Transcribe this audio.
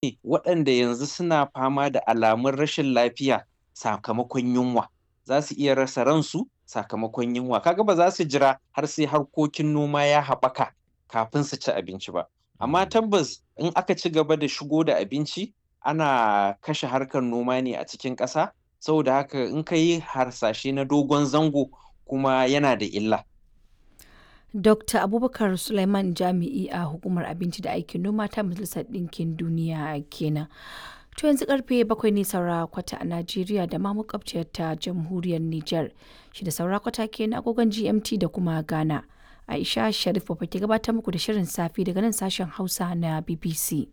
ne waɗanda yanzu suna fama da alamun rashin lafiya sakamakon yunwa. Za su iya rasa ransu sakamakon yunwa. Kaga ba za su jira har sai harkokin noma ya haɓaka kafin su ci abinci ba. Amma tabbas in aka ci gaba da shigo da abinci, ana kashe harkar noma ne a cikin ƙasa. Saboda haka in ka yi harsashe na dogon zango kuma yana da illa. Dr. Abubakar Sulaiman, jami'i a Hukumar Abinci da Aikin Noma ta Majalisar Ɗinkin Duniya kenan. To yanzu karfe 7 ne saura kwata a Najeriya da ma makwabciyar ta Jamhuriyar Nijar. 6 saura kwata kenan agogon GMT da kuma Ghana. Aisha Sharif ke gabatar muku da shirin safe daga nan sashen Hausa na BBC.